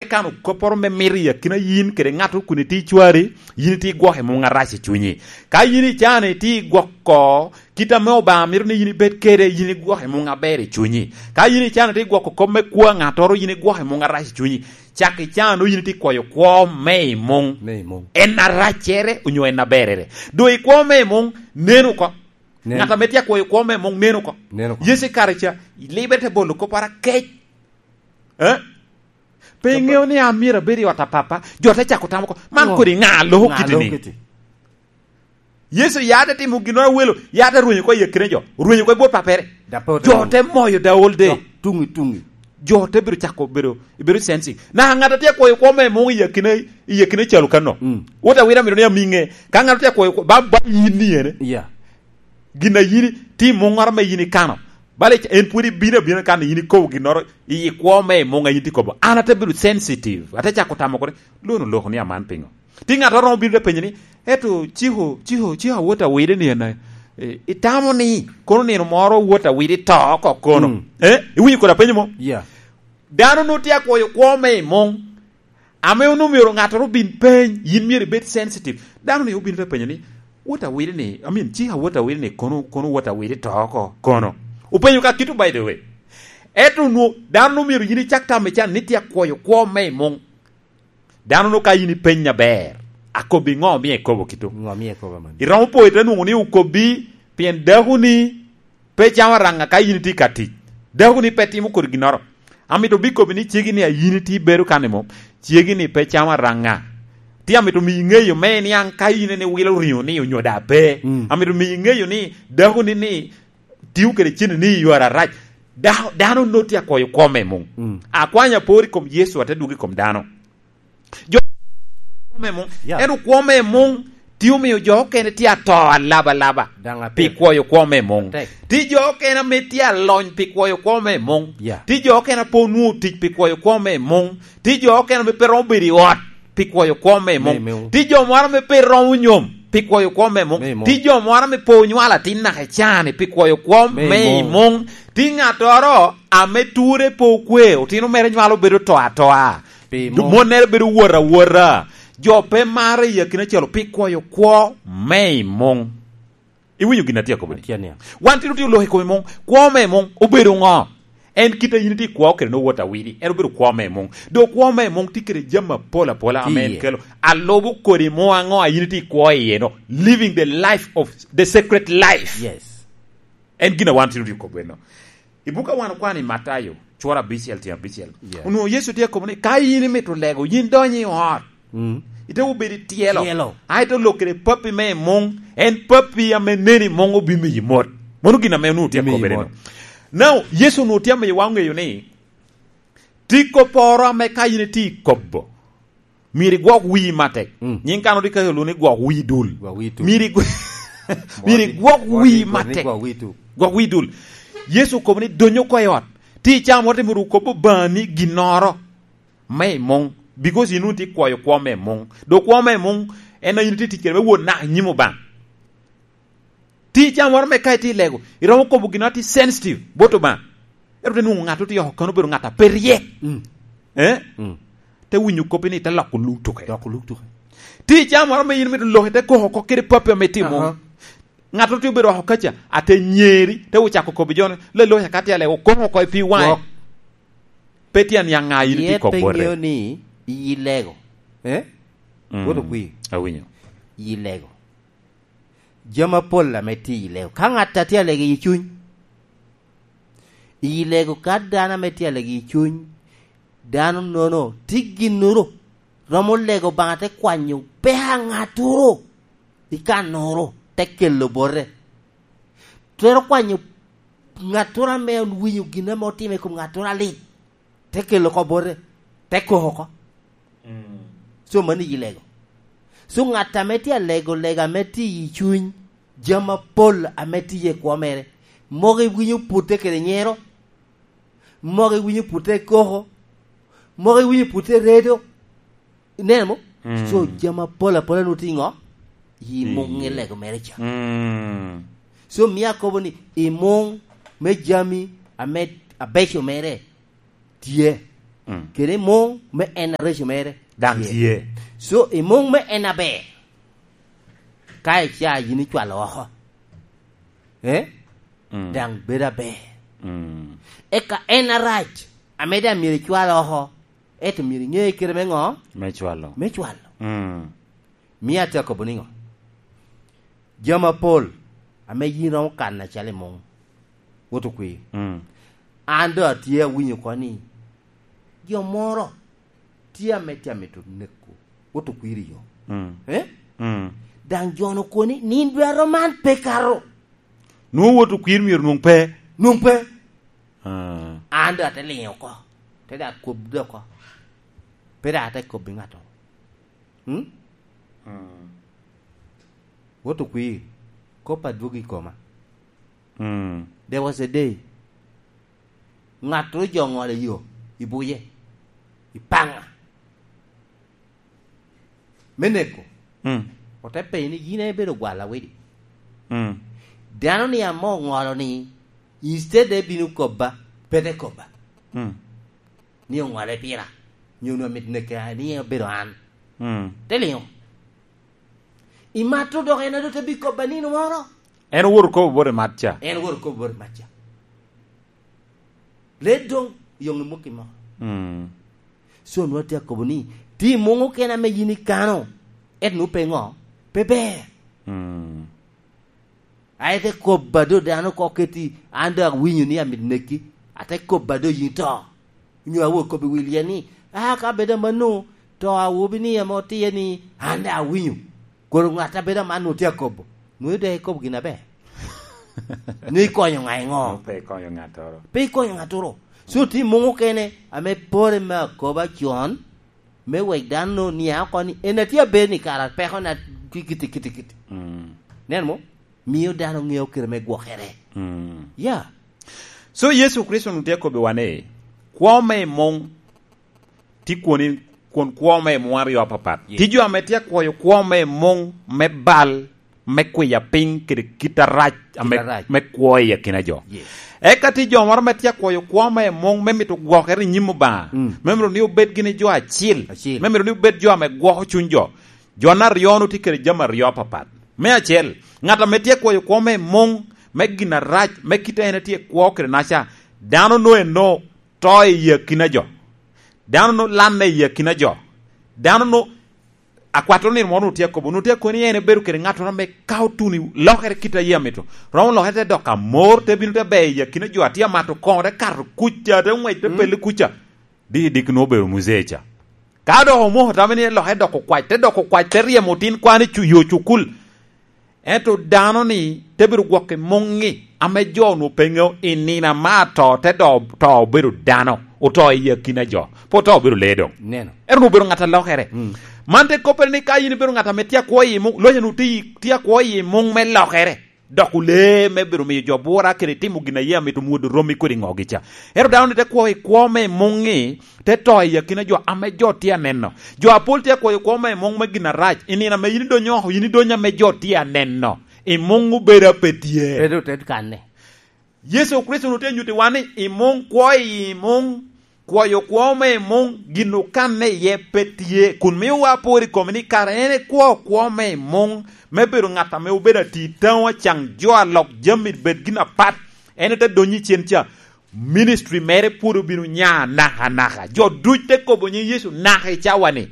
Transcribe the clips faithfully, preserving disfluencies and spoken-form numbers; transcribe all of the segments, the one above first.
kano kopporo me mito i akina yin kede ŋat kun itye icwari, yin itye igwoko i muŋ arac i cunyi. Ka yin icano itye igwoko kit ame Obaŋa mito ni yin ibed kede, yin igwoko i muŋ aber i cunyi. Ka yin icano itye igwoko kop me kwo a ŋattoro, yin igwoko i muŋ arac i cunyi. Cak icano yin itye ikwoyo kwo me i muŋ. Me i muŋ. En araccere onyo en aberere. Doŋ i kwo me i muŋ, nen oko. Nen. Ŋat ame tye akwoyo kwo me i muŋ, nen oko. Nen oko. Yecu i kare ca, libe te bolo kopporo akec. Eh? Pe iŋeo ni an myero abed i ot a Papa? Jo te cako tamo oko, "Man kodi ŋa a loko kiti-ni?" Yecu ya te timo ginnoro awelo, ya te rwenyo oko i akina jo, orwenyo oko i bot Pappere. Jo te moyo the whole day. Tuŋi, tuŋi. Jo te bedo cako bedo, bedo sensitive. Na ŋat a tye akwoyo kwo me muŋ i akina, i akina calo kano. Mm. Wot awira mito ni amiŋe. Ka ŋat a tye akwoyo kwo, ba, ba yin ni ene. Yeah. Gin a yin tye i muŋŋoro ame yin ikano, bala ic-, en pwod ibino abina kan yin ikobo ginnoro i kwo me i muŋ a yin tye kobo. An ate bedo sensitive, ate cako tamo kore, "Lono loko ni aman piŋo?" Tye ŋat a romo bino te penyo ni, "Eto ciko, ciko, ciko awot awide ni en, eh, itamo ni kono nino moro wot awide to oko kono?" Mm. Eh? Iwinyo kodi apenyo mo? Yeah. Dano nwoŋo tye akwoyo kwo me i muŋ, ame onwoŋo myero ŋattoro obin peny, yin myero ibed sensitive. Dano ni obin te penyo ni, "Wot awide ni, I mean, cika wot awide ni, kono, kono wot awide to oko, kono?" Openyo ka kito, by the way. Ento onwoŋo dano omyero yin icak tamo ican ni tye akwoyo kwo me i muŋ. Dano nwoŋo ka yin ipeny aber, akobbi ŋo omio ikobo kito? Ŋo omio ikobo man? Iromo po ite nwoŋo ni okobbi, pien dakoni pe camo araŋa ka yin itye ka tic. Dakoni pe timo kodi ginnoro. Amito bikobbi ni cegi ni a yin itye ibedo kan i mom, cegi ni pe camo araŋa. Tye amito miyi ŋeyo me niaŋ ka yin en iwilo riŋo ni onyo da pe. Mm. Amito miyi ŋeyo ni dakoni ni tio kede cene ni i yore arac. Da-, dano nwoŋo tye akwoyo kwo me muŋ. Mm. Akwanya apor i kom Yecu, ate dwogo i kom dano. Jo me muŋ. Yeah. Ento kwo me muŋ tye omio jo okene tye ato alabalaba pi kwoyo kwo me muŋ. Atek. Tye jo okene ame tye alony pi kwoyo kwo me muŋ. Yeah. Tye jo okene a pe onwoŋo tic pi kwoyo kwo me muŋ. Tye jo okene ame pe romo bedo i ot pi kwoyo kwo me muŋ. Me muŋ. Tye jo moro ame pe romo nyom pi kwoyo kwo me muŋ. Me muŋ. Tye jo moro ame pe onywalo atin naka i caa-ni pi kwoyo kwo me i muŋ. Tye ŋattoro ame ture pe okwe, otino mere nywalo bedo to atoa. Pi muŋ. Monnere bedo wot awota. Jo pe marre i akina acel pi kwoyo kwo me i muŋ. Iwinyo gin atye akobo ni? Atye aniang. Wan tye otye oloko i kom i muŋ. Kwo me i muŋ obedo ŋo? En kit a yin itye ikwo kede nwoŋo wot awidi. En obedo kwo me i muŋ. Doŋ kwo me i muŋ tye kede jami apol apola ame en kelo. Alubo kodi muŋ aŋo a yin itye ikwo iye no? Living the life of the secret life. Yes. En gin a wan tye otye okobo eno. I buk a wan okwano i Matayo, cura abicel, tyen abicel. Yeah. Onwoŋo Yecu tye akobo ni, "Ka in imito lego, yin dony i ot. Mm. Ite obedo i tyelo. Tyelo. A ite olok kede pappi me i muŋ, en pappi ame neni i muŋ obimiyi mot." Mano gin ame onwoŋo tye akobere no. Now, Yecu onwoŋo tye amiyo wa ŋeyo ni, tye kopporo ame ka in itye ikobo, myero igwok wii matek. Mm. Nyiŋ kan odi ka olwoŋo ni gwok wii dul. Gwok wii tuk. Myero igw-, myero igwok wii matek. Gwok wii tuk. Gwok wii dul. Yecu okobo ni, "Dony oko i ot." Tye i caa moro te myero okob Obaŋa ni ginnoro me i muŋ, because in wun tye ikwoyo kwo me i muŋ. Doŋ kwo me i muŋ en a in itye tic kede me wot naka i nyim Obaŋa. Tye i caa moro me ka itye i lego, iromo kobo gin atye sensitive bot Obaŋa. Ento te nwoŋo ŋat otye oko kano obedo ŋat a pe ryek. Mm. Eh? Mm. Te winyo koppi ni te loko luk tuke. Loko luk tuke. Tye i caa moro me in mito lok ite koko oko kede pappi ame itye i muŋ. Aha. Ŋat otye obedo oko kaca, ate nyeri, te ocako kobbi jo ni, "Leloc aka tye alego, koko oko i pi waŋe." Gwok. Pe tye aniaŋ ŋa in itye kok bote. Yet pe ŋeo ni iyi lego. Eh? Mm. Wot okwi. Awinyo. Iyi lego. Jami apol ame tye i lego. Ka ŋat a tye alego i cuny, iyi lego ka dano ame tye alego i cuny, dano nono tye ginnoro, romo lego Obaŋa te kwanyo peko a ŋattoro i kannoro, te kelo bote. Twero kwanyo ŋattoro ame owinyo gin ame otimo i kom ŋattoro alit, te kelo oko bote, te koko oko. Mm. So, mano iyi lego. So, ŋat ame tye alego, lego ame tye i cuny, jami apol ame tye i kwo mere, mogo iwinyo pute kede nyero, mogo iwinyo pute koko, mogo iwinyo pute redo. Ineno mo? Mm. So, jami apol apola nwoŋo tye i ŋo? I muŋ i lego mere ca. Mm. So, mio akobo ni, i muŋ me jami ame abeco mere tye. Mm. Kede i muŋ me en areco mere. Daŋ tye. Tye. So, i muŋ me en aber, ka ica yin icwalo oko, eh? Mm. Daŋ bedo aber. Mm. Eka en arac, ame daŋ myero icwal oko, ento myero iŋe kite me ŋo? Me cwalo. Me cwalo. Mm. Mio atye akobo niŋo? Jami apol ame yin romo kano acalo i muŋ, wot okwir. Mm. An doŋ atye awinyo oko ni jo moro tye ame tye amito neko, wot okwir i yo. Mm. Eh? Mm. Daŋ jo-nu okoni ni, "In dwaro man pe kato." Nwoŋo wot okwir myero nwoŋ pe. Nwoŋ pe. Ah. An doŋ ate liŋo oko, te daŋ kob doŋ oko. Pe daŋ ate kobbi ŋattoro. Hmm? Mm. Wot okwir, kop adwogo i koma. Mm. There was a day, ŋattoro jo oŋolo i yo, i buye, i paŋa, me neko. Mm. Ote penyo ni, "Yin en ibedo gwal awidi?" Mm. Dano ni ame oŋolo ni, instead de bino kobba, pe te kobba. Mm. Ni oŋole pira, nyo onwoŋo mit neke ni obedo an. Mm. Te liŋo. Imato dok en ado te bi kobba nino moro. En owoto kobo bot i mat ca. En owoto kobo bot i mat ca. Led doŋ yoŋ i muki moro. Mm. So, nwa tye akobo ni, ti muŋ okene ame yin ikano, et nu pe ŋo? Pe ber. Mm. Aye te kobba do dano oko keti, an do awinyo ni amito neki, ate kobba do yin to. Onyo awo kobbi wil yen ni, "Ah, ka bedo amanno, to awobi ni ame otiye ni, an daŋ awinyo." Kono ŋat a bedo aman onwoŋo tye akobo, nwoŋo doŋ ikobo gin aber. Nwoŋo ikonyo ŋa i ŋo? Nwoŋo pe ikonyo ŋattoro. Pe ikonyo ŋattoro. So, tye muŋ okene ame pore me akoba con, me wek dano niaŋ oko ni, en atye aber ni kara pekona tye kiti, kiti, kiti. Mm. Nen mo? Mio dano ŋeo kite me gwokere. Mm. Ya. So, Yecu Kricito onwoŋo tye akobbiwa ni, kwo me i muŋ tye kwoni, kwon kwo me i muŋ aryo apapat. Yes. Tye jo ame tye akwoyo kwo me i muŋ me bal, me kwiya piny kede kit arac ame, kit arac me kwo i akina jo. Yes. Eka tye jo moro ame tye akwoyo kwo me i muŋ me mito gwokere i nyim Obaŋa, mm, me mito ni obed gini jo acil, acil, me mito ni obed jo ame gwoko cuny jo. Jo aryo-nu tye kede jami aryo apapat. Me acel, ŋat ame tye akwoyo kwo me i muŋ me gin arac, me kite en etye kwo kede naca, dano no eno to i akina jo. Dano no lanne i akina jo. Dano no, akwat onino moro onwoŋo tye akobo, onwoŋo tye akobo ni en ebedo kede ŋattoro ame ka otuno i lokere kit a yie amito, romo lokere te dok amor, te bino te ber i akina jo, atye amato koŋo, te kato kuca, te ŋwec, te, mm, pelle kuca. Diki diki nwoŋo obedo muzee ca. Ka dok omoko tamo ni lokere dok okwac, te dok okwac, te ryemo otin kwan i cu-, yo cukul. Ento dano-ni te bedo gwok i muŋ-ŋi ame jo onwoŋo pe ŋeo i nino ame ato te do-, to obedo dano, oto i akina jo, pe oto obedo lee doŋ. Neno. Ento onwoŋo obedo ŋat a lokere. Mm. Man te koppere ni ka yin ibedo ŋat ame tye akwo i muŋ, loca onwoŋo tye, tye akwo i muŋ me lokere, doko lee me bedo miyo jo bura kede timo gin a yie amito mwodo romi kodi ŋogi ca. Ento dano-ni te kwo i kwo me i muŋ-ŋi, te to i akina jo ame jo tye aneno. Jo apol tye akwoyo kwo me i muŋ me gin arac, i nino ame yin idonyo oko, yin idonyo ame jo tye aneno. I muŋ obedo a pe tye. Pe doŋ ted kanne. Yecu Kricito onwoŋo tye anyuttiwa ni i muŋ, kwo i muŋ, kwoyo kwo me i muŋ, gin okanne iye pe tye, kun miyowa apor i kome ni kara en ekwo kwo me i muŋ, me bedo ŋat ame obedo ati taŋo acaŋ jo a lok jami bed gin apat. En ote donyo i cen ca, ministry mere pwod obino nya nakanaka. Jo duc te kobo nyiŋ Yecu naka i cawa-ni.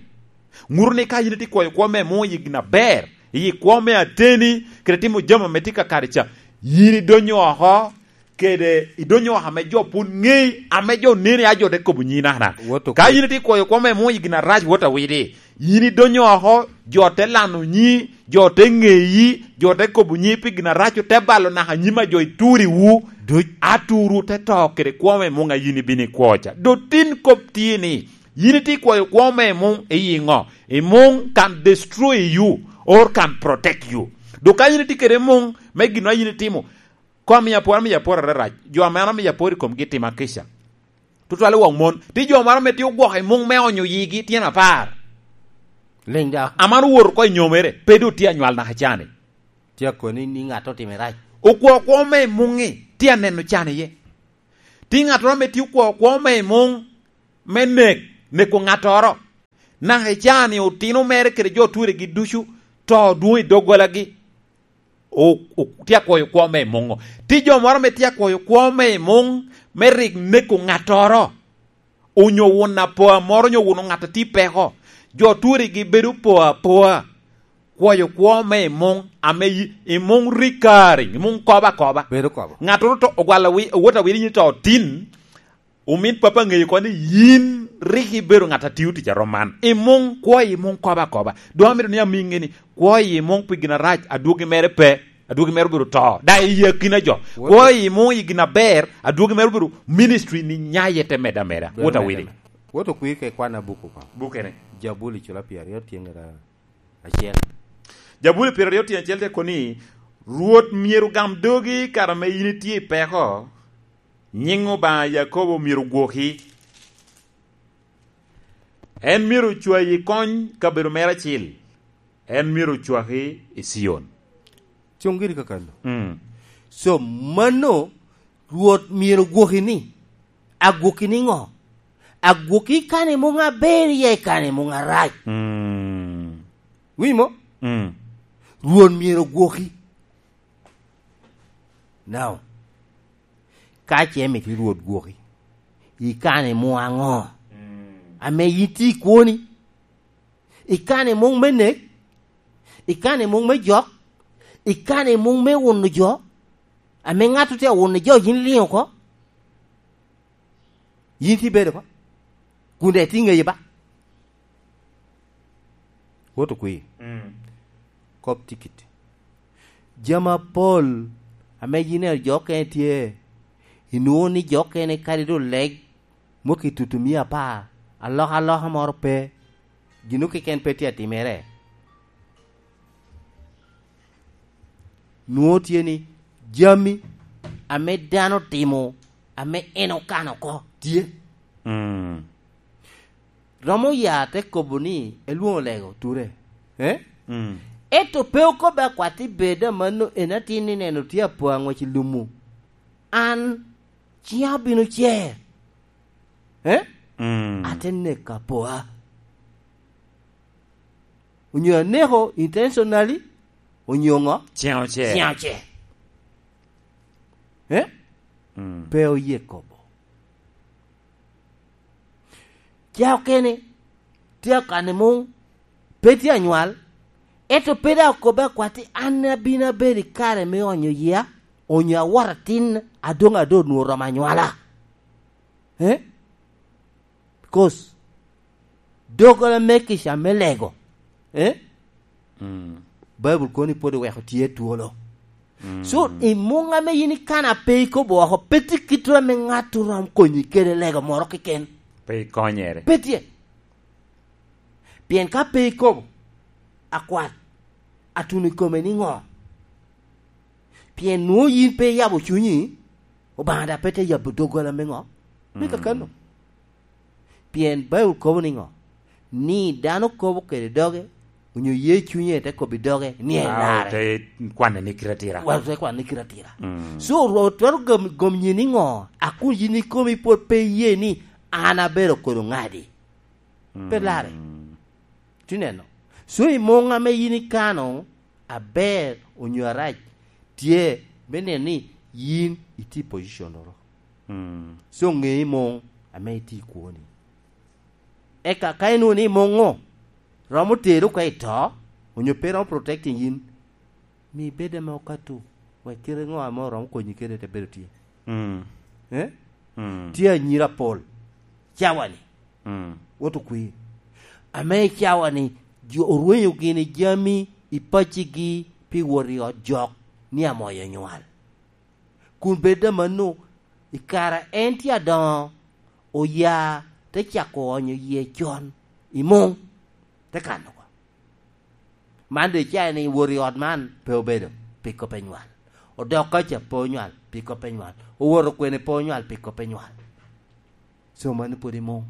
Ŋuto ni ka yin itye kwoyo kwo me muŋ i gin aber, i kwo me ateni, kede timo jami ame tye kakare ca, yin idonyo oko, kede idonyo oko ame jo pwod ŋei, ame jo neni a jo te kobo nyiŋ nakanaka. Wot okwir. Ka yin itye kwoyo kwo me muŋ i gin arac, wot awidi. Yin idonyo oko, jo te lano nyiŋi, jo te ŋeyi, jo te kobo nyiŋi pi gin arac, ote balo naka nyim a jo ituriwu. Duc. Aturu te to kede kwo me muŋ a yin ibino ikwo ca. Dotin kop tye ni, yin itye kwoyo kwo me muŋ i ŋo? I muŋ can destroy you or can protect you. Dok ka yin itye kede muŋ me gin a yin itimo, kom miyo apor, amiyo apor ararac. Jo ame an amiyo apor i komgi tima kica. Tutwale wok mon. Tye jo moro ame tye ogwoko i muŋ me onyo yigi tyen apar. Liŋ da. Aman owoto oko i nyomere, pe doŋ tye anywal naka can-ni. Tye akoni ni ŋat otimo rac. Okwo kwo me i muŋ-ŋi, tye aneno can iye. Tye ŋattoro ame tye okwo kwo me i muŋ, me nek, neko ŋattoro. Naka i caa-ni otino mere kede jo Turegi ducu to dwoŋ i doggolagi. O-, o-, tye akwoyo kwo me i muŋ. Tye jo moro ame tye akwoyo kwo me i muŋ me rik neko ŋattoro, onyo wun apoa moro, onyo wun ŋat a tye i peko. Jo Turegi bedo po apoa, kwoyo kwo me i muŋ, ame i, i muŋ rik kare, i muŋ kobo akoba. Bedo kobo. Ŋattoro to ogwalo wi-, owot awili ni to tin, omin papa ŋeyo ko ni yin rik ibedo ŋat a tio tic a rom man. I muŋ, kwo i muŋ kobo akoba. Doŋ amito ni amiŋe ni, kwo i muŋ pi gin arac, adwogi mere pe, adwogi mere obedo to. Da i akina jo. Kwo i muŋ i gin aber, adwogi mere obedo ministry ni nyaye te medde ameda. Bedo wot awili. Wot okwir ke kwan abuku ko. Bukene. Jabuli cula pyeraryo tye ŋera acel. Jabuli pyeraryo tye acel te koni, Rwot myero gam dogi kare ame yin itye i peko, nyiŋ Obaŋa Yakobo myero gwoki. En myero ocwayi i kony kabedo mere acil. En myero ocwaki i Cion. Cuŋ giri kakano. Mm. So, mano, Rwot myero gwoki ni, agwoki niŋo? Agwoki i kani muŋ aber, ya i kani muŋ arac. Mm. Winyo mo? Mm. Rwot myero gwoki. Now, ka ce mito Rwot gwoki, i kani muŋ aŋo? Mm. Ame yin tye i kwoni? I kani muŋ me nek? I kani muŋ me jok? I kani muŋ me wuno jo? Ame ŋat otye awuno jo, yin iliŋ oko? Yin tye ibedo oko? Kun daŋ itye ŋeye ba? Wot okwir. Mm. Kop tikit. Jami apol ame yin ineno jo okene tye, inwoŋo ni jo okene kadi doŋ leg, moko i tutumia apar, alokaloka moro pe, gin keken pe tye atimere. Nwoŋo tye ni jami ame dano timo, ame en okano oko, tye. Mm. Romo ya te kobo ni, elwoŋo lego ture. Eh? Mm. Ento pe okobbe akwat i bed a mano, en atin ni neno tye apo aŋwec i lumu. An ciŋa obino cer. Eh? Mm. Ate neko apoa. Onyo aneko intentionally, onyo ŋo? Ciŋa ocer. Ciŋa ocer. Eh? Mm. Pe oye kobo. Ca okene, tye akane muŋ, pe tye anywal, ento pe daŋ okobbe akwat ni, "An abino abedo i kare me onyo yia, onyo awot atin, adoŋ ado onwoŋo oromo anywala." Eh? Because doggola me kica me lego, eh? Mm. Baibul kono ni pwod iweko tye twolo. Mm. So, i muŋ ame yin ikano a pe ikobo oko, pe tye kit ame ŋat oromo konyi kede lego moro keken. Pe ikonyere. Pe tye. Pien ka pe ikobo, akwat, atuno i kome niŋo? Pien nwoŋo yin pe iyabo cunyi, Obaŋa daŋ pe te yabo doggola me ŋo? Me Mm. kakano. Pien Baibul kobo niŋo? Ni dano kobo kede doge, onyo ye cunye te kobbi doge, ni en Awo larre. Te kwanne ni kite atira. Wa te kwanne ni kite atira. Mm. So, Rwot twero gom, gom nyi niŋo? A kun yin ikomi pwod pe iye ni an abedo kodo ŋadi? Pe Mm. larre. Tineno. So, i muŋ ame yin ikano, aber onyo arac, tye me neno ni yin itye i position oro. Mm. So, ŋe i muŋ ame itye i kwoni. Eka ka inwoŋo ni muŋ-ŋu romo teri oko i to, onyo pe romo protecting yin, mi bed ame okato, wek kite ŋo ame oromo konyi kede te bedo tye. Mm. Eh? Mm. Tye anyira apol. Cawa-ni. Mm. Wot okwir. Ame i cawa-ni, jo orwenyo gini jami i paccigi pi wot i ot jok ni amoyo nywal. Kun bed amanno, i kare en tye adoŋo, oya te cako onyo yie con i muŋ, te kano oko. Man doŋ icayo ni wot i ot man pe obedo pi kop enywal. Odok kaca pe onywal pi kop enywal. Owoto kwene pe onywal pi kop enywal. So mano pwod i muŋ.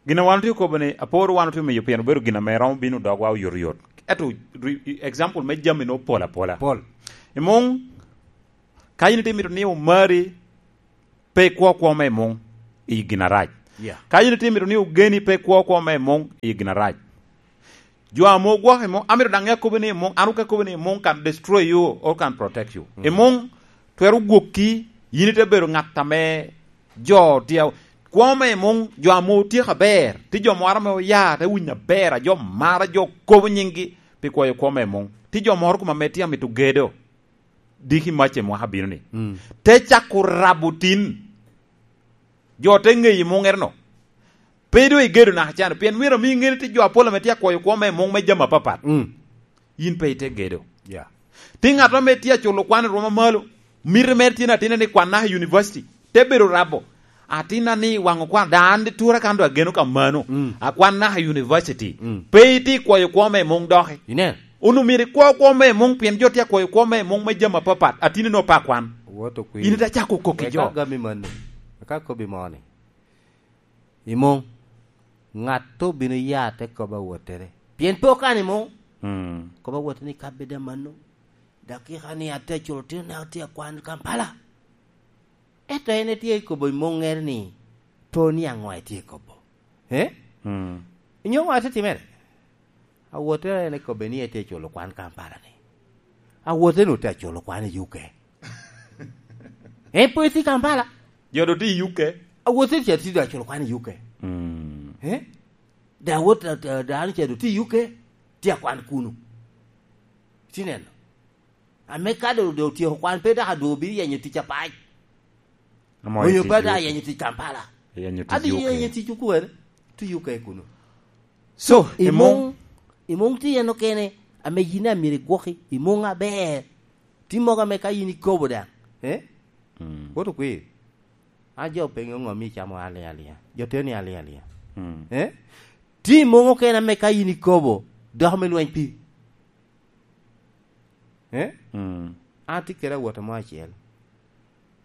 Gin a wan otye kobo ni, aporo wan otye miyo pien obedo gin ame romo bino dogwa oyotoyot. Ento, re-, example me jami no pol apola. Pol. I muŋ, ka in itye mito ni omari, pe ikwo kwo me muŋ i gin arac. Yeah. Ka yin itye mito ni ogeni pe kwo kwo me muŋ i gin arac. Jo ame ogwoko i muŋ, amito daŋ ŋe akobo ni i muŋ, an oke akobo ni i muŋ can destroy you or can protect you. Mm. I muŋ twero gwokki, yin ite bedo ŋat ame jo tye a-, kwo me i muŋ, jo ame otyeko aber, tye jo moro ame oya te winyo aber, a jo mara, jo kobo nyinggi pi kwayo kwo me i muŋ. Tye jo moro kuma ame tye amito gedo, diki mac i mwaka bino ni. Mm. Te cako rabo tin. Jo te ŋeyi muŋere no. Pe doŋ igedo naka can, pien myero ami ŋeni tye jo apol ame tye akwoyo kwo me muŋ me jami apapat. Mm. Yin pe ite gedo. Yeah. Tye ŋat ame tye aculo kwan i rwom amalo. Miti mere tye ni atinne ni kwan naka i university. Te bedo rabo. Atinna ni waŋo kwan, daŋ an tura kan doŋ ageno ka mano. Mm. Akwan naka i university. Mm. Pe itye ikwoyo kwo me muŋ doki. Inen. Onwoŋo myero ikwo kwo me muŋ, pien jo tye akwoyo kwo me muŋ me jami apapat. Atinne ni ope akwan. Wot okwir. In ite acako kok i jo. Eka gami mano. Eka kobbi moni. I muŋ, ŋat obino ya te kobo awottere. Pien pe okano i muŋ. Mm. Kobo awottere ni ka bed amanno, dakika ni atye aculo tino naka atye akwan Kampala. Ento en etye kobo i muŋere ni, po ni aŋo etye kobo. Eh? Mm. Inyo ŋo atye timere? Awottere en ekobbe ni etye aculo kwan Kampala ni. Awottere nu tye aculo kwan i U K. En pwod tye i Kampala. Jo doŋ tye i U K. Awottere ca tye doŋ aculo kwan i U K. Mm. Eh? Da wot, da, da, dano ca doŋ tye i U K, tye akwan kunu. Tye neno. Ame ka doŋ, doŋ otyeko kwan, pe dok adwogo bino yenyo tic apac. Amo onyo pe dok yenyo tic Kampala. Yenyo tic Adi U K. Yenyo tic okwer, tye U K kunu. So, i muŋ, i muŋ tye en okene, ame yin amyero igwoki, i muŋ aber. Tye mogo ame ka yin ikobo daŋ, eh? Mm. Wot okwir. A jo penyo ŋo mi icamo aliŋ aliŋa. Jo teni aliŋ aliŋa. Mm. Eh? Tye i muŋ okene ame ka yin ikobo, dok me lweny pi. Eh? Mm. An atye kede awota mo acel.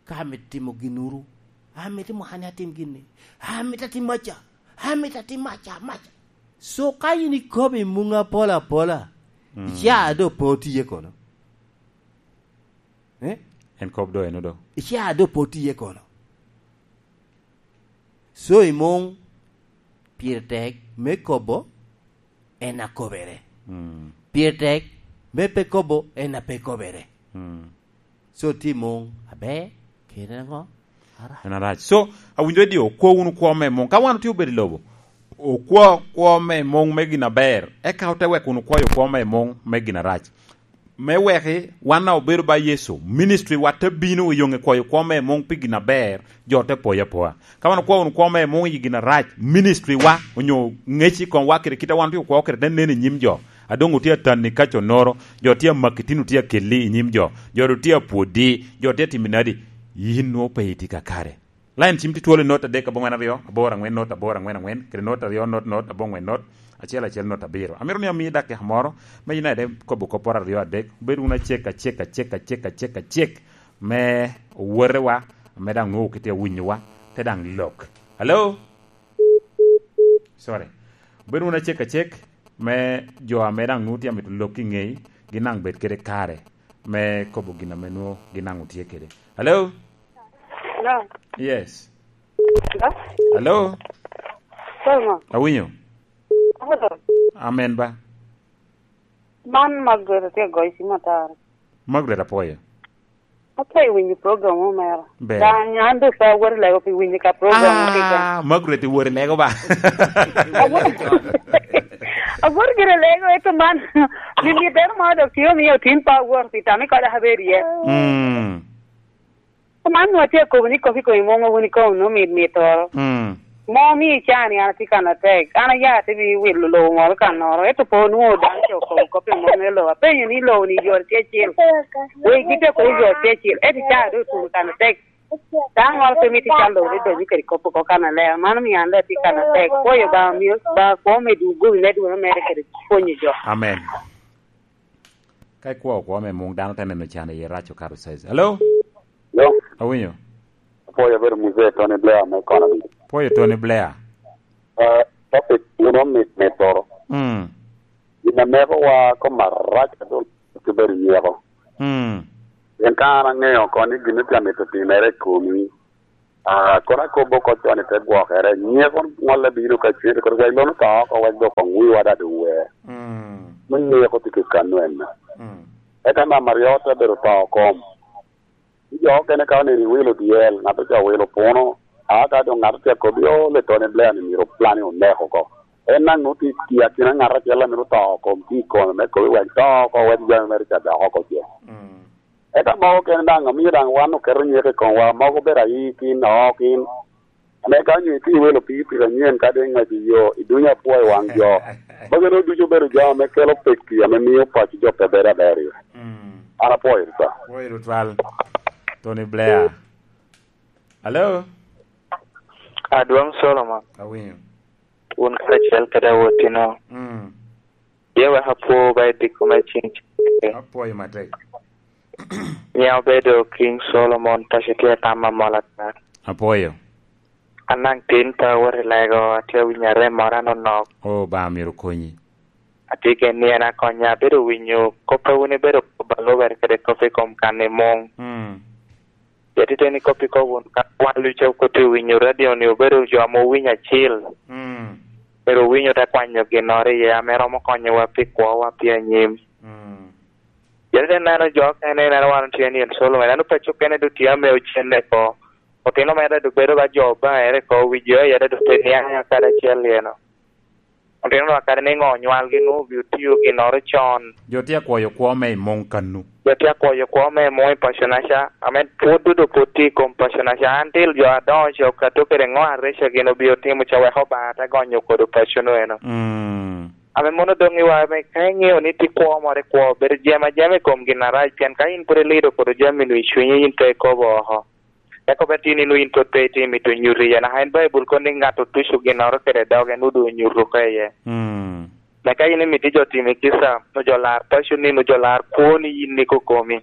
Ka amito timo ginnuru, amito mwaka ni atim gin ni, amito atim maca, amito atim maca, maca. So ka yin ikobo i muŋ apol apola, mm, icaa doŋ pe otiye kono. Eh? En kop do eno do. Icaa doŋ pe otiye kono. So i muŋ pire tek me kobo en akobere. Mm. Pire tek me pe kobo en a pe kobere. Mm. So tye i muŋ aber, kede ŋo? Arac. En arac. So, awinyo ni okwo wunu kwo me muŋ. Ka wan otye obedo i lobo, okwo kwo me muŋ me gin aber, eka ote wek wunu kwayo kwo me muŋ me gin arac. Me weki wan a obedo ba Yecu, ministry wa te bino i yoŋe kwayo kwo me muŋ pi gin aber, jo te poyo apoya. Ka wan okwayo wunu kwo me muŋ i gin arac, ministry wa onyo ŋec i komwa kede kit a wan otye okwo kede te nen i nyim jo. A doŋ otye atanni ka connoro, jo tye amaki tin otye akelli i nyim jo, jo doŋ tye apwoddi, jo tye atimo nadi, yin nwoŋo pe itye kakare. Lain cim tye twolo i not adek aboŋwen aryo, aboro aŋwen not aboro aŋwen aŋwen, kede not aryo not not aboŋwen not, acel acel not abiro. Amito ni ami dakika moro, me yin ade kobo kopporo aryo adek, obed wunu acek, acek, acek, acek, acek, acek, me owotewa, me daŋ nwoŋo kite awinyowa, te daŋ lok. Hello? Sorry. Obed wunu acek, acek, me jo ame daŋ nwoŋo tye amito lok i ŋei, gin daŋ bed kede kare me kobo gin ame nwoŋo gin daŋ otye kede. Hello? Hello? Yes. Hello? Hello? Sorry, ma. Awinyo? Hello? Amen ba. Man Margaret atye goyo cim atara. Margaret, apwoyo. Atye winyo program mo mera. Ber. Daŋ an doŋ pe awot i lego pi winyo ka program mo keken. Ah, Margaret iwot i lego ba? Awot, awot gire i lego, ento man, limit deno mo dok tye omiyo otin pe awot pi tam i kode abedo iye. Mm. Man nwa tye akobo ni kop i kom i muŋ wun ikobo nwoŋo mit mit oro. Mm. Mo mi icaa ni an atye kan atek. An aya ate bi wilo lobo moro kannoro, ento pe onwoŋo dano ca okobo kop i muŋ me lobo. Apenyo ni lobo ni yore tye acel. Wegi tye kodi yore tye acel, ento icaa doŋ otuno kan atek. Dano moro pe mito cal lobo ni donyo kede kop oko kan alea. Mano miyo an daŋ atye kan atek. Pwoyo Obaŋa omio, Obaŋa kwo me dwogo gobi me dwogo mere kede pwonyo jo. Amen. Ka ikwo kwo me muŋ, dano te neno can iye rac okato size. Hello? Hello? Awinyo. Apwoyo, abedo Muzee Tony Blair me Economy. Pwoyo Tony Blair. Ah, topic wun omit mitoro. Mm. Gin a mekowa kom arac adol, ki bedo nyeko. Mm. Pien ka an aŋeo oko ni gin tye amito timere i komi, Ah, kono akobo oko con i te gwokere, nyeko ŋolle bino ka cwete, kono wek lono to oko, wek dok koŋ wiwa daŋ doŋ wer. Mm. Me nyeko tye kekanu en. Mm. Eka namba aryo te bedo to kom. Jo okene ka oneno iwilo dyel, ŋat ocoo wilo puno, a ka doŋ ŋat otye akobi, "O, le Tony Blair ni myero plan-ni onek oko." En daŋ nwoŋo tye i akina ŋat acel a myero to oko, tye i kome me kobi wek to oko, wek jami mere ca dok oko ce. Mm. Eka mogo kene daŋ omio daŋ wan oketo nyeko i komwa, mogo obedo aikin, ookin. Ame ka onyo itye iwelo pii piki anyen, ka doŋ iŋwec i yo, idunyo apwo i waŋ jo. Magi nwoŋo ducu obedo jami ame kelo pekki, ame mio paco jo pe bedo aber iye. Mm. An apwoyo tutwal. Apwoyo tutwal. Tony Blair. Hello? Adwoŋ Solomon. Awinyo. Wun karacel kede awotino. Mm. Ye wek apwo ba i diko me cing cik. Apwoyo matek. Nyiŋa obedo King Solomon, paco tye i tam amol ata. Apwoyo. An daŋ tin pe awot i lego, atye awinyo arem moro anonok. O, Obaŋa myero okonyi. Atye gen ni en akonya, abedo winyo kop a wun ibedo kop a lubere kede kop i kom kan i muŋ. Mm. Pien titeni kop ikobo wunu ka wan luca okoti owinyo radio-ni, obedo jo ame owinyo acil. Mm. Myero owiny ote kwanyo ginnoro iye ame romo konyowa pi kwowa pi anyim. Mm. Pien te neno jo okene, ineno wan otye ni en Solomon, en paco kene doŋ tye ame ocenne oko. Otino mere doŋ bedo ba jo Obaŋa ere oko, wi jo aye doŋ pe niaŋ kadi acel eno. Otino lwak kadi niŋo onywalgi nwoŋo obin otio ginnoro con. Jo tye akwoyo kwo me i muŋ kannu. Jo tye akwoyo kwo me i muŋ i paco-naca, ame pwod dodo pwod tye i kom paco-naca. An til jo adoŋo ca okato kede ŋo areca gin obin otimo ca wek Obaŋa te gonyo kodo paco-nu eno. Mm. Ame mono doŋ iwa, ame ka iŋeo ni tye kwo moro i kwo, bedo jemo ajema i kom gin arac, pien ka in pwod ilido kodo jami-nu i cunyi, in pe ikobo oko. Eka obed tye ni nwoŋo in pwod pe itimo mito nyuto iye, naka en Baibul kono ni ŋat otuco ginnoro kede doge, nwoŋo doŋ onyuto oko iye. Mm. Me ka in imito jo timi kica, nwoŋo jo lar paco ni, nwoŋo jo lar kwoni yin ni kokomi.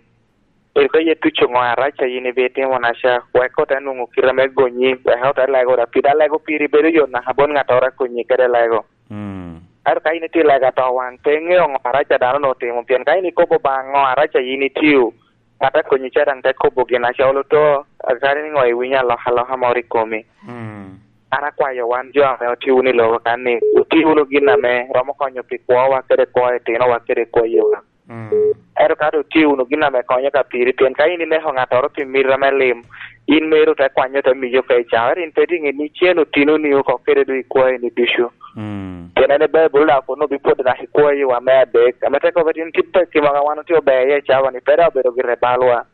Ero ka ye tuco ŋo arac a yin ibitimo naca, wek ote nwoŋo kite me gonyi, wek ote lego, da pida lego piri bedo yot naka bot ŋattoro a konyi kede lego. Mm. Ento ka in itye lego atowaŋ, pe iŋeo ŋo arac a dano-nu otimo, pien ka in ikobo baŋ ŋo arac a yin itio, ŋat a konyi ca daŋ te kobo gin acol oto, akadi ni ŋo iwinyo alokaloka moro i komi. Mm. An akwayo wan jo ame otye wunu i lobo kan ni, wuti wunu gin ame romo konyo pi kwowa kede kwo etinowa kede kwo yiwa. Mm. Ento ka doŋ tye wunu gin ame konyo ka piri, pien ka in ineko ŋattoro pi miti ame lim, in meri ote kwanyo ote miyi oko i cawa, ento in pe tye ŋe ni cen otino ni oko kede doŋ ikwayo ni ducu. Mm. Pien en i Baibul daŋ kono obipwodo naka ikwayo wa me adek, ame te kobbe tin kit pekki mogo a wan otye ober iye i cawa ni pe daŋ obedo gire balwa.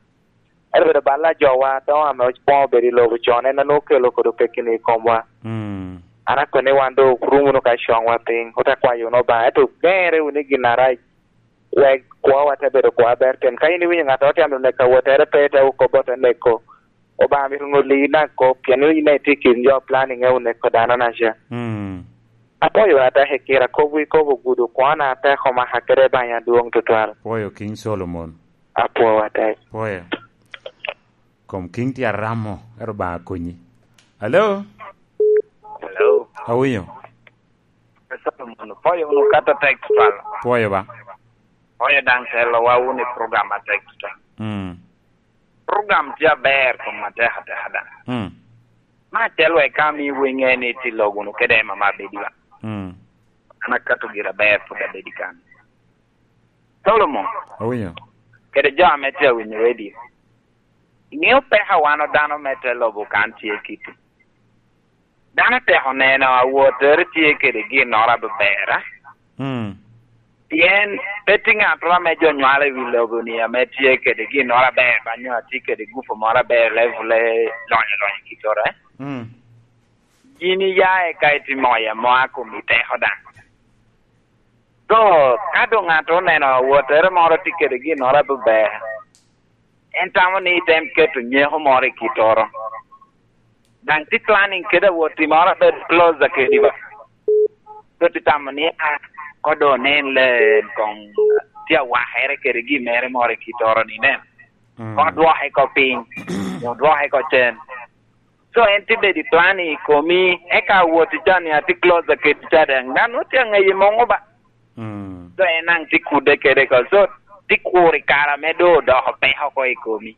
Ento obedo bal a jowa adoŋo ame okwongo obedo i lobo con, en a nwoŋo okelo kodo pekki-ni i komwa. Mm. An akwene ni wan doŋ orum wunu ka coŋwa piny, ote kwayo wunu Obaŋa, ento geŋere wunu i gin arac, wek kwowa te bedo kwo aber. Pien ka in iwinyo ŋattoro tye amito neko awottere, pe ite kobbe ote neko, Obaŋa myero ŋolli in daŋ kop, pien in daŋ itye i kin jo a plan iŋeo neko dano naca. Mm. Apwoyo wunu atek i kite, kop wi kop ogudo kwona atek omaka kede banya adwoŋ tutwal. Pwoyo King Solomon. Apwoyo atek. Pwoyo. Kom King tye aramo, ero Obaŋa konyi. Hello? Hello? Awinyo. Solomon, pwoyo wunu kato tek tutwal. Pwoyo ba. Pwoyo daŋ telowa wunu i program atek tutwal. Mm. Program tye aber kom atek ateka daŋ. Mm. Me acel wek ka mi wenge ni tye lok wunu kede mama abedi ba. Mm. An akato gire aber pwod abedi kan. Solomon. Awinyo. Kede jo ame tye awinyo radio. Iŋeo peko a wan dano me te lobo kan tye kiti. Dano tek oneno awottere tye kede ginnoro abeber, a? Mm. Pien pe tye ŋattoro ame jo nywalo i wi lobo-ni ame tye kede ginnoro aber, ba nyo atye kede gupo moro aber, level-le lonyo lonyo i kitoro, eh? Mm. Yin iya eka itimo moya mo a komi teko daŋ. So, ka doŋ ŋattoro oneno awottere moro tye kede ginnoro abeber, en tamo ni item keto nyeko moro i kitoro. Daŋ tye planning kede awot i moro abedo closer kedi ba. So tye tamo ni, ah, ko doŋ onen le en koŋ tye awakere kede gin mere moro i kitoro ni nen. Mm. Koŋ dwoke ko piny, koŋ dwoke ko cen. So en tye bedo i planning i komi, eka awot i can ni atye closer kedi ca daŋ. Daŋ nwoŋo tye aŋeyi muŋo ba. Mm. So en daŋ tye kudde kede ko. So tye kuro i kare ame doŋ odoko peko oko i komi.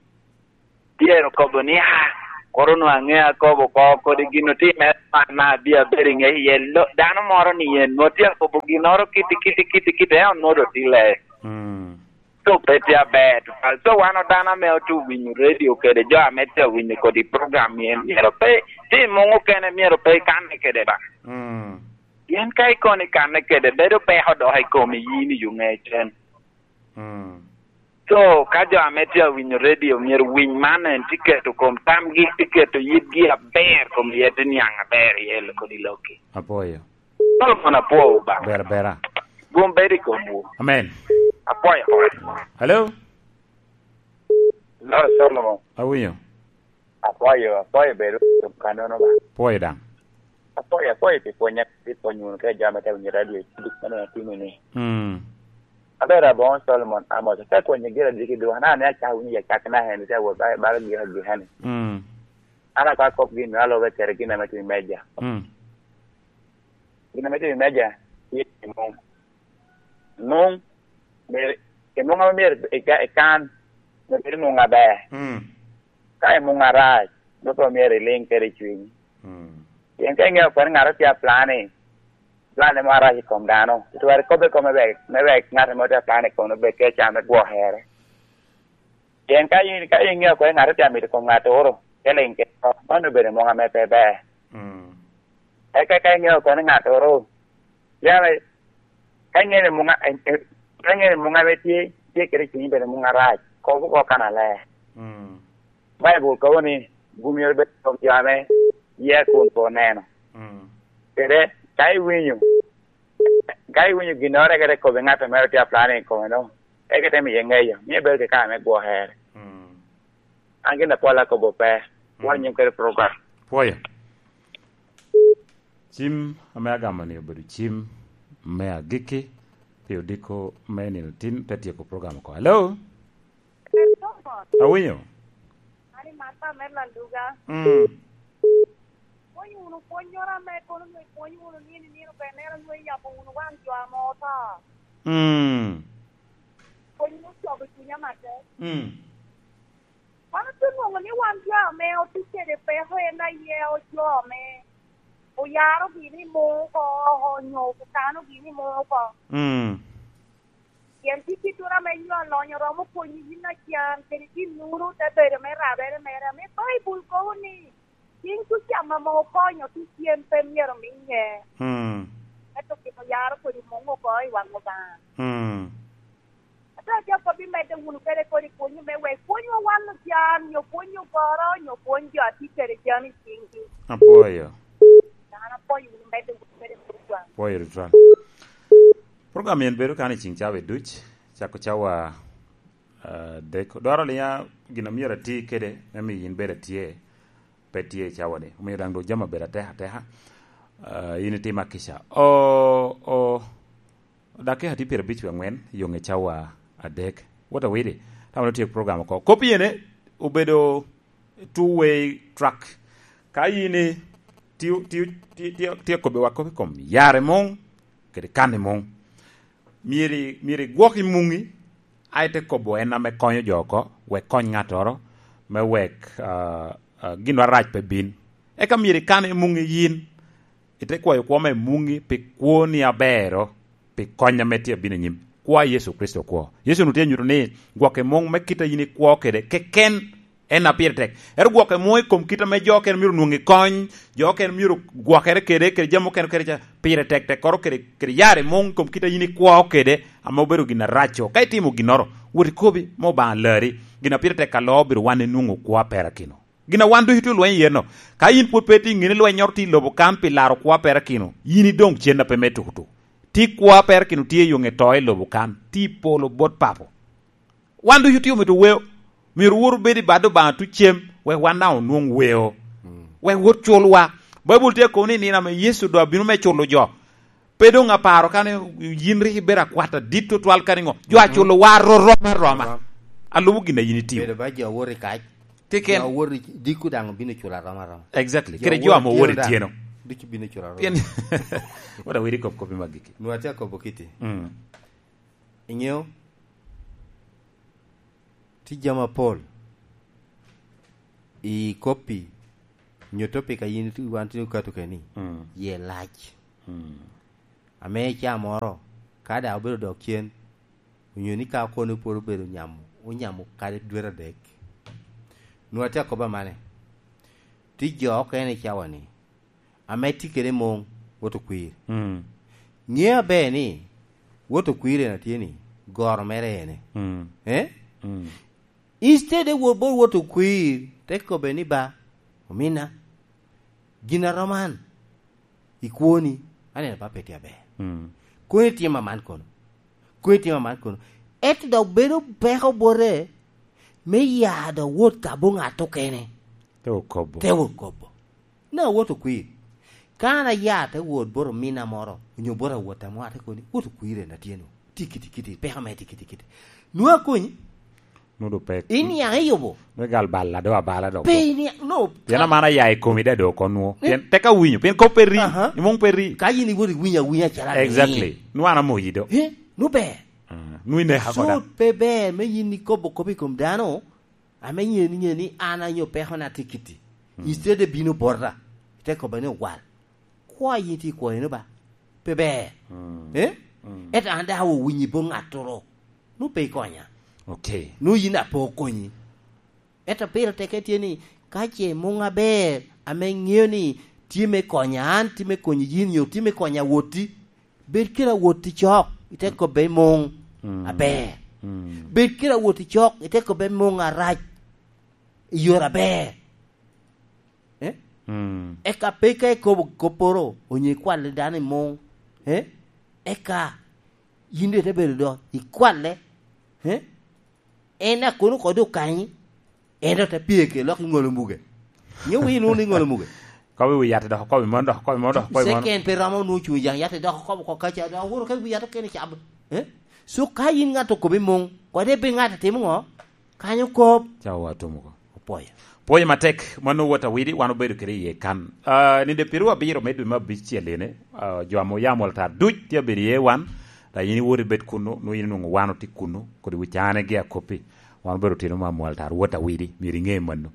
Myero kobo ni, ah, Koro onwoŋo aŋeo akobo oko kodi gin otimere man, na abia abedo i ŋec iye. Lo-, dano moro ni en nwoŋo tye akobo ginnoro kiti, kiti, kiti, kiti, en onwoŋo doŋ tye ler. Mm. So pe tye aber tutwal. So wan dano ame otye winyo radio kede jo ame tye winyo kodi program ni en myero pe, tye i muŋ okene myero pe ikanne kede ba. Mm. Pien ka ikono ikanne kede, bedo peko dok i komi yin i yo ŋecen. Mm. So, ka jo ame tye awinyo radio myero winy man, en tye keto kom tamgi, tye keto yitgi aber, kom yet niaŋ aber iye kodi lokki. Apwoyo. Solomon apwoyo ba. Ber abera. Gwom bedo i komwu. Amen. Apwoyo, apwoyo. Hello? Hello, Solomon. Awinyo. Apwoyo, apwoyo bedo i kannono ba. Pwoyo daŋ. Apwoyo, apwoyo pi pwonya, pi pwony wunu kede jo ame te winyo radio, duk mano atimo ni. Mm. Abedo aboŋo Solomon Amos, te pwonyo gira diki duk, na ne acako winyo ya cak na hene, te wot ba, ba gira duk hene. Mm. An akwa kop gin me alobe kede gin ame tye i meja. Mm. Gin ame tye i meja, tye i muŋ. Muŋ, myero, i muŋ ame myero ika-, ikan, myero bedo muŋ aber. Mm. Ka i muŋ arac, doŋ pe myero iliŋ kede i cwinyi. Mm. Pien ka iŋeo kono ni ŋat tye a planning, plan mo arac i kom dano, itwero ikobbe kome wek, me wek ŋat ame tye a planning kono obed kede can me gwokere. Pien ka in, ka iŋeo kono ni ŋat tye a mito kom ŋattoro, te liŋ kede oko, mano obedo muŋ ame pe ber. Mm. Eka ka iŋeo kono ni ŋattoro, yam, ka iŋeo ni muŋ a-, e, e, ka iŋeo ni muŋ ame tye, tye kede i cunyi bene muŋ arac, kob oko kannaler. Mm. Baibul kobo ni, "Gum myero bed i kom jo ame yia kun pe oneno." Mm. Kede, ka iwinyo, ka iwinyo ginnoro, eka te kobbi ŋat a mere tye a planning i kome no, eka te miye ŋeyo, mio bedo kede kare me gwokere. Mm. An gin apol akobo pe, mm, wanyim kede program. Pwoyo. Cim ame agamo-ni obedo cim me agikki pi odiko me nino tin, te tyeko program oko. Hello? Awinyo. Ani Martha me Laluga. Mm. Pwony wunu pwonnyoro ame kono onwoŋo ipwonyo wunu nino i nino, pe neno onwoŋo iyabo wunu waŋ jo ame oto. Mm. Pwony wunu cobo cunya matek. Mm. Wan ote nwoŋo ni wan jo ame otye kede peko en aye jo ame oyaro gini muŋ oko, onyo okano gini muŋ oko. Mm. Pien tye kit tura ame nyo alonyo romo konyi yin acan, kede ginnoro te bedo me rabere mere, ame Baibul kobo ni, "Cing tucam ame okonyo tucem pe myero miye." Mm. Ento gin oyaro kodi muŋ oko i waŋ Obaŋa. Mm. Ate aco kop imedde wunu kede kodi pwony me wek pwonywa wan ocan, nyo pwony ogoro, nyo pwony jo a tye kede jami i ciŋgi. Apwoyo. An apwoyo wunu, medde wunu kede pwonywa. Pwoyo tutwal. Program en bedo kan i ciŋ cawa duc, cako cawa, ah, adek. Dwaro liŋa gin a myero ati kede, me miyo in bedo atye, pe tye i cawa-ni. Omiyo daŋ doŋ jami obedo atek ateka. Ah, in itima kica. O, o, dakika tye pyerabic wie aŋwen, yo ŋe cawa adek. What a widi? Tamo ni otyeko program oko. Kop iyene obedo two way track. Ka in i-, ti-, ti-, ti-, ti-, tye kobbiwa kop i kom yare muŋ, kede kan i muŋ, myero, myero igwok i muŋi, a ite kobo en ame konyo jo oko, wek kony ŋattoro, me wek, ah, ah, gin arac pe bin. Eka myero ikan i muŋi yin, ite kwayo kwo me muŋi pi kwoni abero, pi kony ame tye abino anyim. Kwa Yecu Kricito kwo. Yecu onwoŋo tye nyuto ni gwokke muŋ me kit a yin ikwo kede keken en a pire tek. Ento gwokke muŋ i kom kit ame jo okene myero onwoŋ i kony, jo okene myero gwokere kede, kede jami okene kede ca, pire tek tekkoro kede, kede yare muŋ i kom kit a yin ikwo kede, ame obedo gin arac-co. Ka itimo ginnoro, wot ikobi, me Obaŋa lari. Gin a pire tek aloo obedo wan enwoŋo kwo a perakino. Gin a wan ducu tye olweny iye-no. Ka yin pwod pe itye i ŋini lwennyoro tye i lobo kan pi laro kwo a perakino, yin idoŋ cen a pe me tukutuk. Tye kwo a perakino tye i yo ŋe to i lobo kan, tye i polo bot Papo. Wan ducu tye omito weo. Myero wot obed i bad Obaŋa tucem, wek wan daŋ onwoŋ weo. Mm. Wek wot culwa. Baibul tye akobo ni nino ame Yecu doŋ abino me culo jo. Pe doŋ aparo kane yin rik ibedo akwat adit tutwal kadi ŋo. Jo aculo wa rorom aroma. Alubo gin a yin itio. Bedo ba jo awot i kac. Keken. Jo awot i dikku daŋ obino culo aroma aroma. Exactly. Jo kede jo awot ame owot i tyeno daŋ, tyeno. Ducu bino culo aroma. Pien, wot awidi kop kopi magiki. Nwa tye akobo kiti. Mm. Iŋeo? Tye jami apol i koppi Nyo topic a yin wan tye okato keni, mm, ye lac. Mm. Ame i caa moro, ka daŋ obedo dok cen, onyo ni ka kono pwod obedo nyamo, onyamo kadi dwete adek. Nwa tye akoba mane? Tye jo okene i cawa-ni, ame tye kede muŋ, wot okwir. Mm. Ŋe aber ni, wot okwir en atye ni, goro mere ene. Mm. Eh? Mm. Instead de wot bot wot okwir, te kobbe ni, "Ba, omina, gin a roman, i kwoni, aneno ba pe tye aber. Mm. Koni tim aman kono. Koni tim aman kono." Ento dok bedo peko bote, me ya dok wot ka bo ŋat okene. Te okobo. Te okobo. Na wot okwir. Ka an aya te wot bot omina moro, onyo bot awot amo, ate koni, "Wot okwir en atye no. Tye kiti kiti, peko me tye kiti kiti." Nwa akonyi. Nudo pek. Iniaŋ iyubo. Me gal bal ado abala dok. Pe iniaŋ, no. Pien amana ya i komi da dok onwo. Eh? Pien tek awinyo, pien kop pe ri. Aha. Imong pe ri. Ka yin iwot iwinyo awinya calo amin. Exactly. Nwa an amoyi do. Eh, no ber. Ah, nwa ineka koda. So pe ber me yin ikobo kop i kom dano, ame ŋe ni, ŋe ni an anyo peko na tye kiti. Mm. Instead de bino bota, ite kobba ni, "Owal, kwa yin tye i kwoyo no ba? Pe ber." Mm. Eh? Mm. Ento an daŋ awinyi bo ŋattoro. Nu pe ikonya. Okay. Nu yin ape okonyi. Ento pire teke tye ni, ka ce muŋ aber, ame ŋeo ni tye me konya an, tye me konyo yin, nyo tye me konya woti, bed kede awot i cok, ite kobbe i muŋ. Mm. Aber. Mm. Bed kede awot i cok, ite kobbe i muŋ arac, i yore aber. Eh? Mm. Eka pe ka ikobo kopporo, onyo ikwalli dano i muŋ, eh? Eka yin doŋ ite bedo do, ikwalle, eh? En a kono kodi okanyi, en doŋ te pye ke lok iŋolo muge. Nyo wi inwoŋo iŋolo muge? Kobi wi yat dok, kobi mon dok, kobi mon dok, kobi mon. Second pe romo nwoŋo cuŋ i jaŋ yat dok, kobo ko kaca dok, aworo ka wi yat okene cabo. Eh? So ka yin ŋat okobi muŋ, kodi pe ŋat atimo ŋo? Kanyo kop. Ca wa tum oko. Opwoyo. Pwoyo matek, mano wot awidi, wan obedo kede iye kan. Ah, ninde piru abiro me dwe me abicel ene, ah, jo ame oyamo altar duc tye abedo iye wan, da yin iwot ibed kunu, nwo yin inwoŋo wan otye kunu, kodi wi cane gi akoppi. Wan obedo tino ma mwal tar wot awidi, myero iŋe mano.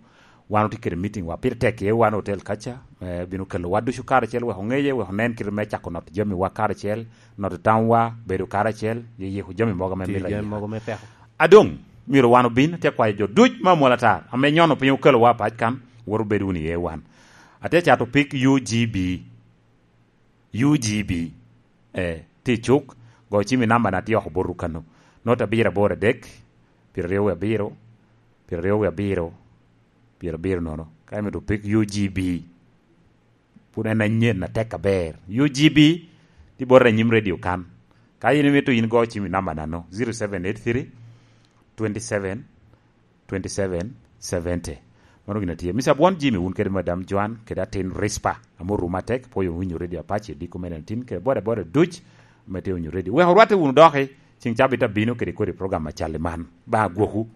Wan otye kede meeting wa pire tek iye wan hotel kaca, me bino kelo wa ducu karacel, wek oŋeye, wek onen kite me cako noto jami wa karacel, noto tamwa, bedo karacel, yeyeko jami mogo ame mito jami mogo me peko. Adoŋ, myero wan obin, atye kwayo jo duc ma mwal atar, ame nyono piny okelo wa pac kan, wot obed wunu iye wan. Atye cato pig U G B. U G B. Eh, tye i cuk, go cim i namba na tye oko bot rukano. Not abiro aboro adek, pyeraryo wie abiro, pyeraryo wie abiro, pyerabiro nono. Ka imito pig U G B, pud en anyen atek aber. U G B, tye bot anyim radio kan. Ka in imito in go cim i namba nano, zero seven eight three, twenty seven, twenty-seven seventy. Mano gin atye. Mister Abwon Jimmy, wun kede Madam Joan, kede atin Rispa, ame orum atek, pwoyo winyo Radio Apache, diko me nineteen, kede boda boda duc, ame tye winyo radio. Wek orwatte wunu doki, ceng cabit abino kede kodi program acal i man. Ba agwoku.